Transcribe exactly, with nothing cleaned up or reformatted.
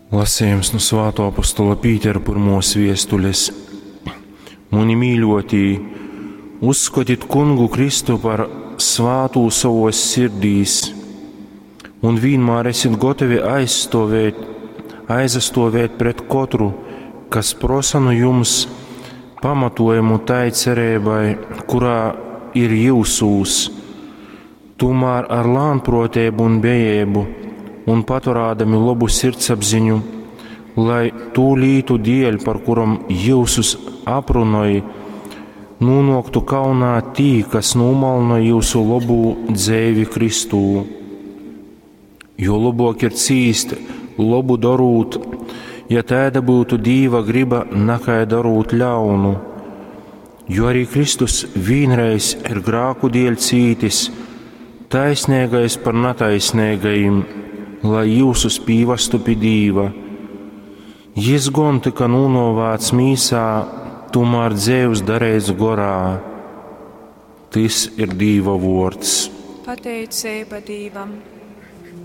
Lasījums nu Svātō apostola Pītera pyrmōs viestules. Muni mīļotī, uzskotit Kungu Kristu par svātū sovos sirdīs un vīnmār esit gotovi aizstovēt, aizastovēt pret kotru, kas prosa nu jums pamatojumu tai cereibai, kurā ir jyusūs, tūmār ar lānproteibu un bejeibu un paturādami lobu sirdsapziņu, lai tū lītu dieļ, par kurom jyusus aprunoj, nūnoktu kaunā tī, kas nūmalnoj jūsu lobū dzeivi Kristū. Jo lobok ir cīst, lobu dorūt, ja tēda būtu Dīva griba, nakai darūt ļaunu. Jo arī Kristus vienreiz ir grāku dēļ cītis, taisnīgais par nataisnīgajiem, lai jūsus pīvastu pie Dīva. Jis gon tika nūnovāts mīsā, tomēr dzēvs darēts gorā. Tys ir Dīva vārds. Pateicība Dīvam!